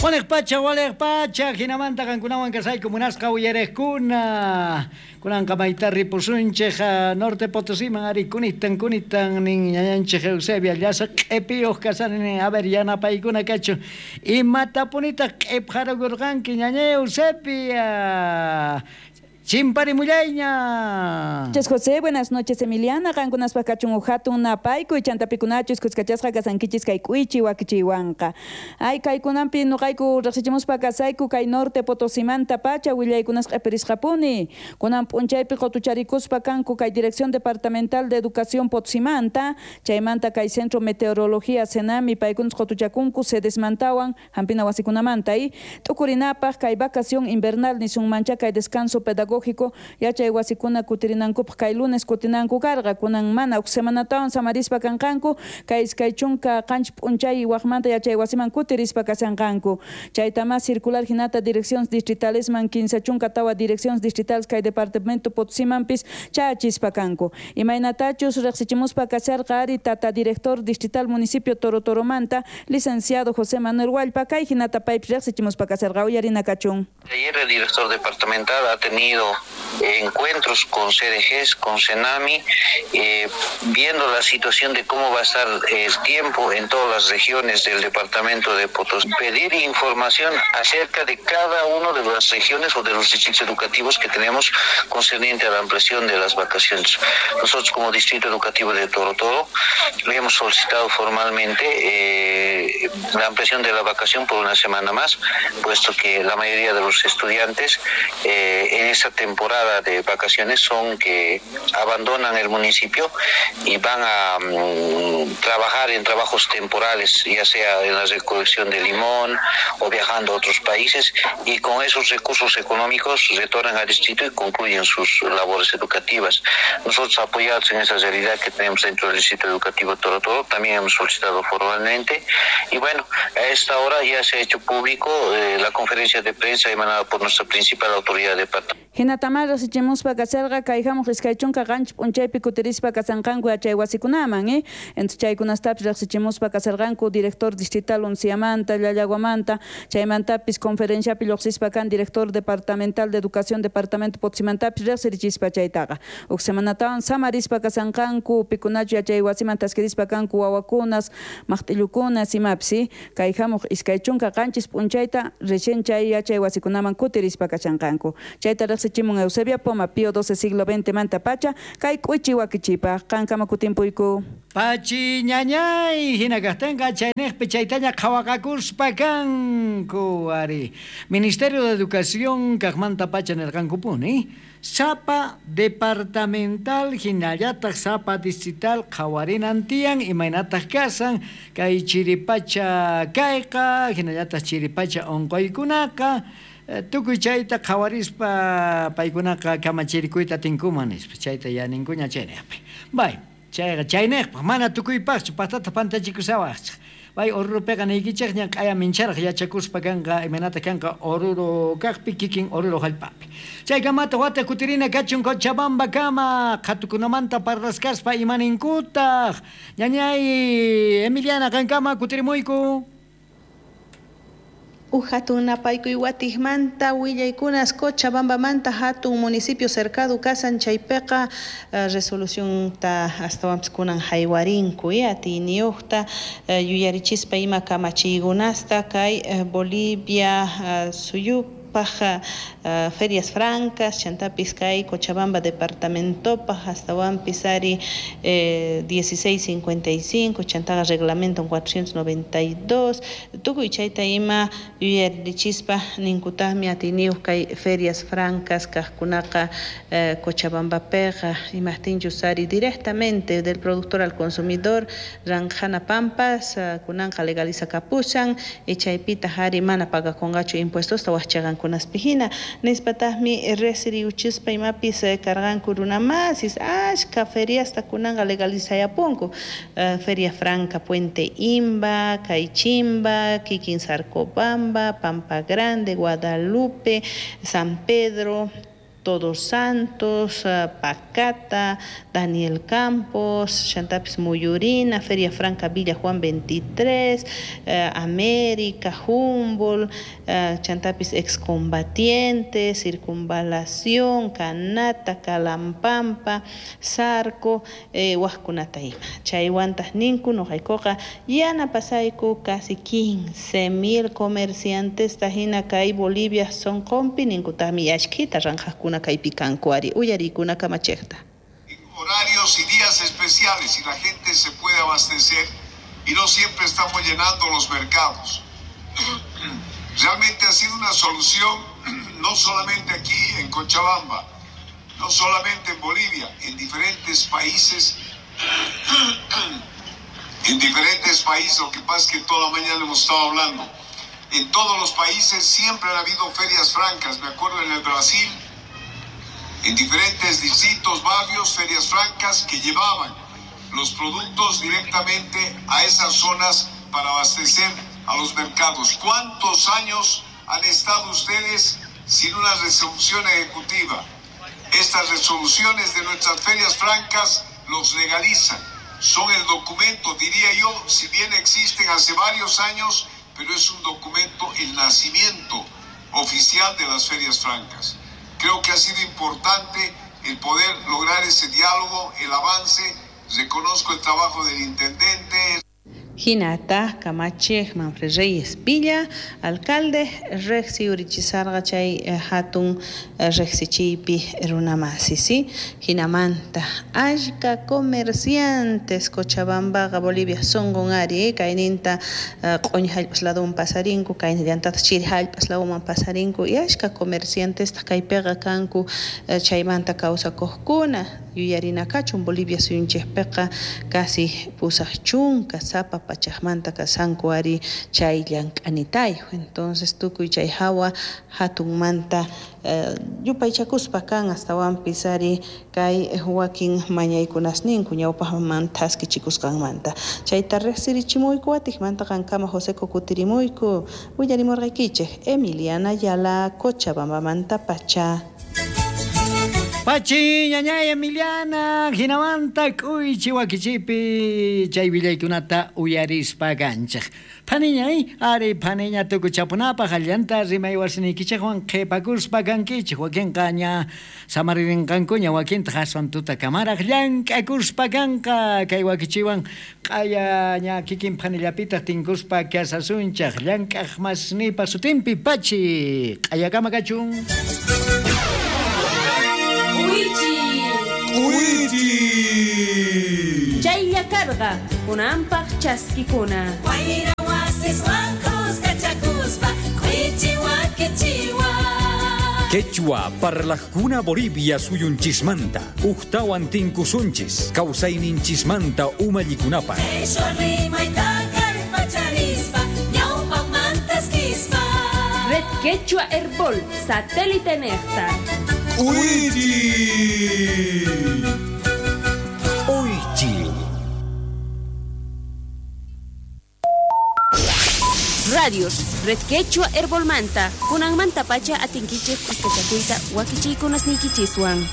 Waliq pacha, hinamanta qankunawan kasayku munasqa uyariqkuna. Kunanqa mayta ripusunchik Norte Potosíman ari kunitan kunitan nin ñañanchik Eusebia llasa q'ipiyuq kasani nin a ver yanapaykuna kachun imatapunitaq q'ipqarukurqanki ñañay Eusebia Chimparimullayña. Noches, José, buenas noches, Emiliana. Qankunaspaq kachun uj hatun napaykuy chantapikunaachus kuskachasqa kasankichis kay k'uychi wakichiywanqa. Ay, kaykunanpi nuqayku riqsichimuspa kasayku kay Norte Potosimanta pacha willaykunas q'ipirisqapuni. Kunan p'unchaypi qutucharikuspa kanku kay Dirección Departamental de Educación Potosimanta, chaymanta kay Centro Meteorología Cenami paykunas qutuchakunku sedesmantawan hampina wasikunamanta y t'ukurinapaq kay vacación invernal nisunmancha kay descanso pedagógico yachay wasikuna kutirinankupaq kay lunes kutinanku karqa kunan mana uj semanatawan samarispa kanqanku kay iskay chunka qanchis p'unchay waqmanta yachay wasiman kutirispa kashanqanku chayta mas circular hinata direcciones distritalesman 34 direcciones distritales kay departamento Potosimanpis chayachispa kanku imaynatachus riqsichimuspa kasharqa ari tata director distrital municipio Torotoromanta licenciado José Manuel Huallpa kay hinata paypis riqsichimuspa kasharqa uyarina kachun. Ayer el director departamental ha tenido encuentros con CDGs, con Cenami, viendo la situación de cómo va a estar el tiempo en todas las regiones del departamento de Potosí. Pedir información acerca de cada una de las regiones o de los distritos educativos que tenemos concerniente a la ampliación de las vacaciones. Nosotros como Distrito Educativo de Toro Toro le hemos solicitado formalmente la ampliación de la vacación por una semana más, puesto que la mayoría de los estudiantes en esta temporada de vacaciones son que abandonan el municipio y van a trabajar en trabajos temporales, ya sea en la recolección de limón o viajando a otros países, y con esos recursos económicos retornan al distrito y concluyen sus labores educativas. Nosotros, apoyados en esa realidad que tenemos dentro del Distrito Educativo Toro Toro, también hemos solicitado formalmente, y bueno, a esta hora ya se ha hecho público la conferencia de prensa emanada por nuestra principal autoridad departamental. Hinatama riqsichimuspa kasharqa kay hamuq 27 p'unchaypi kutirispa kasanqanku yachay wasikunaman, eh? Entonces chaykunastapis riqsichimuspa kasharqanku director distrital Unciamanta, Llallaguamanta, chaymantapis conferenciapi lluqsispa kan director departamental de educación departamento Potosimantapis riqsirichispa chaytaqa. Uj semanatawan samarispa kasanqanku pikunachu yachay wasiman taskirispa kanku wawakunas, maqt'illukunas imapis, eh? Kay hamuq 27 p'unchayta recién chay yachay wasikunaman kutirispa kashanqanku. Chayta riqsichimun Eusebia Poma, Pío XII siglo XX manta pacha, kay k'uychi wakichipaq, qankama kutimpuyku. Pachi ñañay, hina kaqtinqa chayniqpi chaytaña qhawaqakuspa kanku ari. Ministerio de Educación kaqmanta pacha nirqankupuni, sapa departamental hinallataq sapa distrital qhawarinan tiyan imaynataq kasan kay chiripacha kayqa hinallataq chiripacha unquykunaqa tukuy chayta qhawarispa paykunaqa kamachirikuyta atinkuman nispa chayta yaninkuña chayniqpi. Bay, chayqa chayniqpaq mana tukuypaqchu patata pantachikusawaqchik. Bay Oruropiqa niykichikña q'aya mincharaq yachakuspa kanqa imaynata kanqa Oruro kaqpi kikin Oruro hallp'api. Chaykamata wata kutirina kachun Cochabamba kama qhatukunamanta parlaskaspa imaninkutaq. Ñañay Emiliana qankama kutirimuyku. Uj hatun napaykuy watijmanta willaykunas Cochabambamanta hatun municipio cercado kasan chaypiqa resolucionta astawanpis kunan haywarinku atiyniyuqta yuyarichispa ima kamachiykunasta kay Bolivia suyupaq ferias francas chantapis kay Cochabamba departamentopaq astawanpis ari 1655 chantaqa reglamento 492 tukuy chayta ima yuyarichispa ninkutaqmi atiyniyuq kay ferias francas kaqkunaqa Cochabambapiqa imaqtinchus ari directamente del productor al consumidor ranqhana pampas kunanqa legalizakapushan y chaypitaq ari mana pagakunqachu impuestosta waqchaqankunaspi hina nispataqmi riqsiriwchispa imapis karqanku runamasis achka feriasta kunanqa legalizayapunku Feria Franca Puente Imba, Caychimba, kikin Sarcobamba, Pampa Grande, Guadalupe, San Pedro. Todos Santos, Pacata, Daniel Campos, chantapis Muyurina, Feria Franca Villa Juan 23, América, Humboldt, chantapis Excombatientes, Circunvalación, Canata, Calampampa, Zarco, wajkunata ima. Chaywantaj ninku noqaykuqa yanapasayku casi 15,000 comerciantes hina kay Bolivia sonqonpi ninkutaqmi ashkhita ranqhaqkuna kaypi kanku ari uyarikuna kamachejta. Horarios y días especiales y la gente se puede abastecer y no siempre estamos llenando los mercados. Realmente ha sido una solución no solamente aquí en Cochabamba, no solamente en Bolivia, en diferentes países. En diferentes países, lo que pasa es que toda la mañana hemos estado hablando. En todos los países siempre han habido ferias francas. Me acuerdo en el Brasil, en diferentes distritos, barrios, ferias francas que llevaban los productos directamente a esas zonas para abastecer a los mercados. ¿Cuántos años han estado ustedes sin una resolución ejecutiva? Estas resoluciones de nuestras ferias francas los legalizan. Son el documento, diría yo, si bien existen hace varios años, pero es un documento, el nacimiento oficial de las ferias francas. Creo que ha sido importante el poder lograr ese diálogo, el avance. Reconozco el trabajo del intendente. Hinata kamachej Manfred Reyes Villa, alcalde, rejsi urichisarqa chay hatun rejsichiypi runamasi, ¿sí? Hinamanta ashka comerciantes Cochabambaqa Bolivia sonqon ari, kayninta q'uñi hallp'as laduman pasarinku, kaynillantataq chiri hallp'as laduman pasarinku, y ashka comerciantes kaypiqa kanku chaymanta kawsakuqkuna. Yuyarina kachun Bolivia suyunchikpiqa casi pusaq chunka sapa pachaqmanta kasanku ari chay llank'anitayo. Entonces tukuy chay hawa hatunmanta yupaychakuspa kan astawanpis ari kay wakin mañaykunasninku ñawpaqman thaskichikusqanmanta. Chayta riqsirichimuyku watiqmanta qankama Joseco kutirimuyku willarimurqaykichik Emiliana Ayala Cochabambamanta pacha. Pachi, ñañay Emiliana, hinamanta k'uychi wakichipi chay willaykunata uyarispa kanchik. Phaniñay, ari phaniña tukuchapunapaq allanta rimay wasiniykichikwan qhipakuspa kankichik, wakinqa ña samaririnqankuña, wakintaq aswan tutakamaraq llank'akuspa kanqa kay wakichiwan q'aya ña kikin phanillapitaq tinkuspa kasasunchaq llank'aq masnipa sutinpi pachi q'ayakama kachun. Uichi. Chaylla karqa kunanpaq chaskikuna. Wayra wasiswan kuskachakuspa k'uichi wakichiwa. Quechua parlajkuna Bolivia suyunchismanta uqtawan tinkusunchis kawsayninchismanta umallikunapaq. Qhishwa rimayta kallpacharispa ñawpaqmantas kispa. Red Quechua Herbol satélite nejta. Uichi. Uichi. Radios, Red Quechua Herbolmanta, kunanmanta pacha atinkichik kuskachakuyta wakichiykunasniykichiswan.